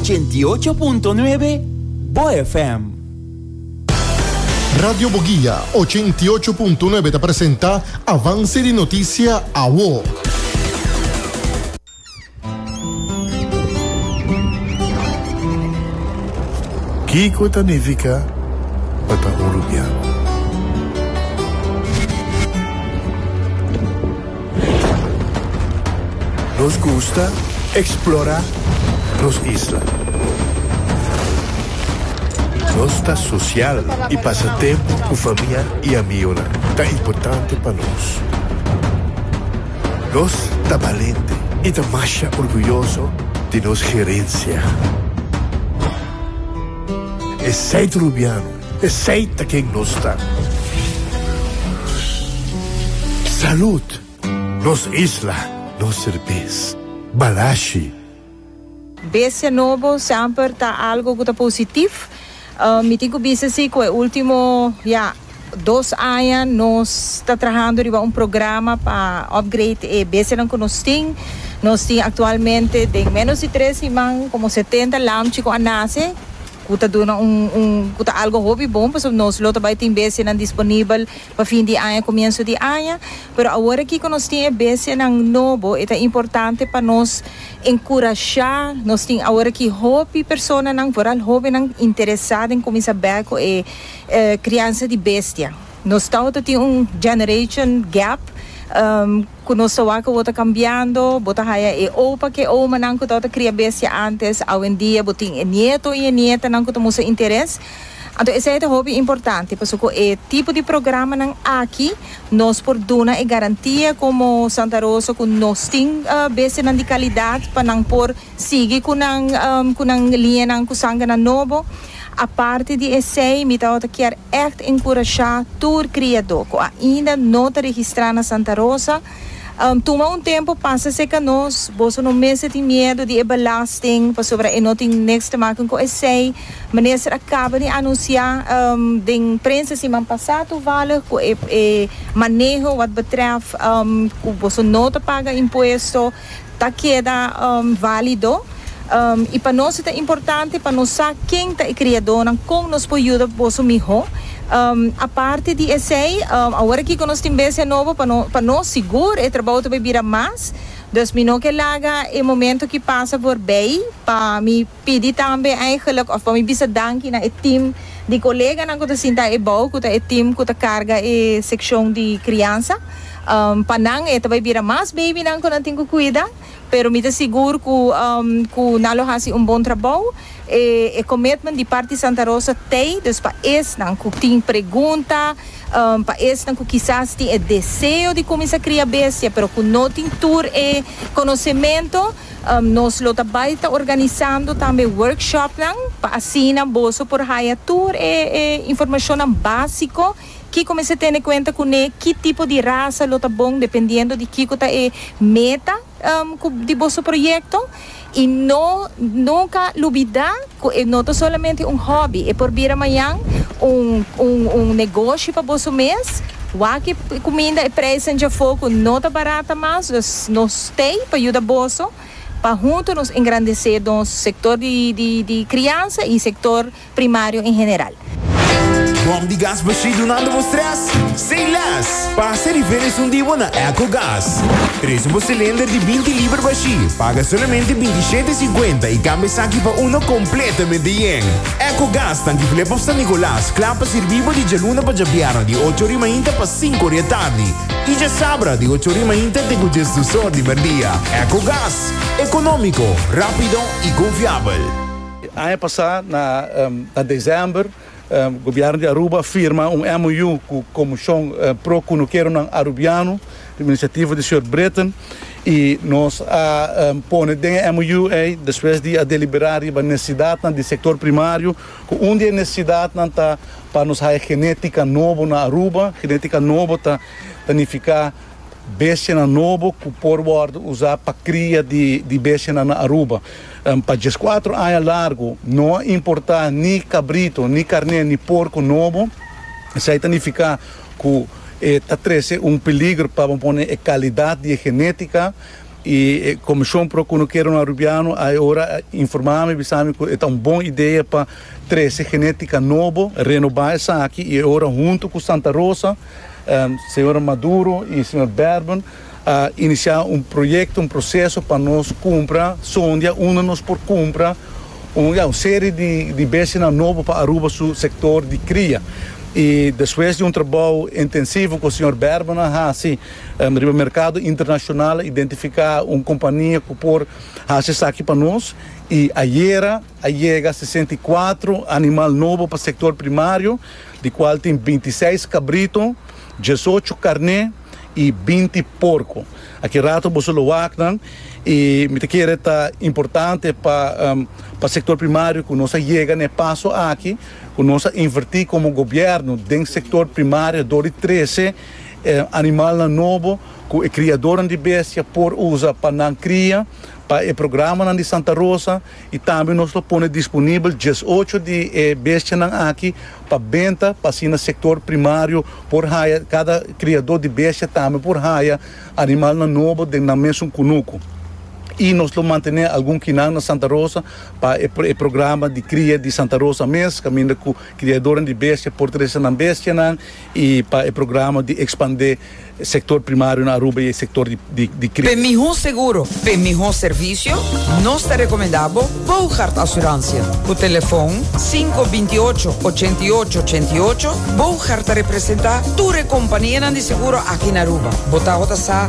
88.9 Bo FM. Radio Boguia 88.9 ta presenta Avance di Noticia Awo. Kiko ta nifiká pa ta un rubiano? Nos gusta eksplorá nos isla. Nos ta sosial i pasa tempu ku famia i amionan ta importante pa nos. Nos ta balente i ta masha orguyoso di nos gerensia. Esei ta Rubiano, esei ta ken nos ta. Salud! Nos isla, nos serbes. Balashi. Bestia nobo semper ta algo cu ta positiv. Mi tin cu bisa si cu e ultimo, ya, dos aña nos ta trahando riba un programa pa upgrade e bestianan cu nos tin. Nos tin actualmente den menos di tres siman como setenta lamchi cu a nace. Ku ta duna un un ku ta algo hopi bon pasobra nos lo ta bai tin bestianan disponibel pa fin di aña komienso di aña. Pero awor aki ku nos tin e bestianan nobo e ta importante pa nos enkurashá. Nos tin awor aki hopi personanan vooral hobennan interesá den kuminsá bèk ku e kriansa di bestia. Nos tabata tin un generation gap. Ku nos ta wak bo ta kambiando, bo ta haya e opa ku e omanan ku tabata kria bestia antes, awendia bo tin e nieto i e nietanan ku ta mustra interes. Anto esei ta hopi importante pasobra ku e tipo di programanan aki nos por duna e garantia komo Santa Rosa ku nos tin bestianan di kalidat pa nan por sigui ku nan ku nan liñanan ku sangernan nobo. Aparte di esei mi tabata kier ègt enkurashá tur kriadó ku ainda no ta registrá na Santa Rosa, tuma un tempu pasa serka nos. Boso no mester tin miedu di e belasting pasobra e no tin niks te maken ku esei. Minister a kaba di anunsiá den prensa siman pasá toevallig ku e maneho wat betrèf ku boso no ta paga impuesto ta keda válido. I pa nos e ta importante pa nos sa ken ta e kriadónan, kon nos por yuda boso mihó. Aparte di esei, awor aki ku nos tin bestia nobo, pa no pa nos sigur e trabou ta bai bira mas. Dus mi no ke laga e momento ki pasa voorbij pa mi pidi tambe eigenlijk òf pa mi bisa danki na e tim di koleganan ku ta sinta ebou, ku ta e tim ku ta karga e sekshon di kriansa. Pa nan e ta bai bira mas babynan ku nan tin ku kuida. Pero mi ta sigur cu cu nan lo haci un bon trabou. E e commitment di parti Santa Rosa t'ey, dus pa esnan cu tin pregunta, pa esnan cu kisas tin e deseo di cuminsa cria bestia pero cu no tin tur e conocemento, nos lo ta bay ta organisando tambe workshopnan pa asina boso por haya tur e e informacionnan basico. Kiko mester tene kuenta kuné? Ki tipo di rasa lo ta bon dependiendo di kiko ta e meta ku di boso proyekto? I no nunka lubidá ku e no ta solamente un hòbi, e por bira mañan un un un negoshi pa boso mes. Wak e kuminda, e preisnan djafó ku no ta barata mas, dus nos t'ei pa yuda boso pa huntu nos engrandesé nos sektor di di di kriansa i sektor primario en general. Bom di gas bashí dunando bo stress? Say less! Pasa riba esun di bo na Ecogas. Trese bo cilinder di binti liber bashí, paga solamente 27 i 50 i cambia esaki pa uno completamente yen. Ecogas tanki Flip of San Nicolas, kla pa sirbi bo di djaluna pa djabièrnè di ocho ori mainta pa sinku ori atardi i djasabra di ocho ori mainta te ku djesdus or di merdia. Ecogas, economico, rapido i confiabel. Aña pasá na na desèmber gobièrnu di Aruba a firma un MOU ku Komishon Pro Kunukeronan Arubiano riba inisiativa di señor Britten i nos a pone den e MOU ei despues di a deliberá riba nesesidatnan di sektor primario ku un di e nesesidatnan ta pa nos haya genétika nobo na Aruba. Genétika nobo ta nifiká Bestianan nobo ku por wòrdu usá pa kria di bestianan na Aruba. Pa dieskuatro aña largu no a importá ni kabrito, ni karné, ni porko nobo. Esei ta nifiká ku e ta trese un peligro pa bo pone e kalidat di e genétika. Y e Comision Pro Cunukeronan Arubiano a e ora a informa mi, bisa mi cu e ta un bon idea pa trece genetica nobo, renoba esaki y e ora hunto cu Santa Rosa, señora Maduro y señor Berben a inicia un proyecto, un proceso pa nos cumpra sondia unda nos por cumpra un, ya, un serie di, di bestianan nobo pa Aruba su sector di cria. Y despues di un trabou intensivo cu señor Berben a haci, Riba merkado internashonal a identifiká un kompania ku por hasi esaki pa nos i ayera a yega 64 animal nobo pa sektor primario, di kual tin 26 kabrito, 18 karné i 20 porko. Aki rato boso lo wak nan i mi ta kere ta importante pa pa sektor primario ku nos a yega na e paso aki ku nos a invertí komo gobièrnu den sektor primario dor di trese E animalnan nobo ku e kriadornan di bestia por usa pa nan kria, pa e programanan di Santa Rosa i tambe nos lo pone disponibel 18 di e bestianan aki pa benta pa asina sektor primario por haya, kada kriador di bestia tambe por haya animalnan nobo den nan mesun kunuku. I nos lo mantené algun kinan na Santa Rosa pa e programa di kria di Santa Rosa mes, kaminda ku kriadornan di bestia por trese nan bestianan. y pa e programa di expande sector primario na Aruba y e sector di cria. P'e mihó seguro, p'e mihó servisio, nos ta rekomendá bo Boogaard Assurantie. Ku telefon sinku 28 88 88, Boogaard ta representá tur e kompanianan di seguro aki na Aruba. Bo tabata sa?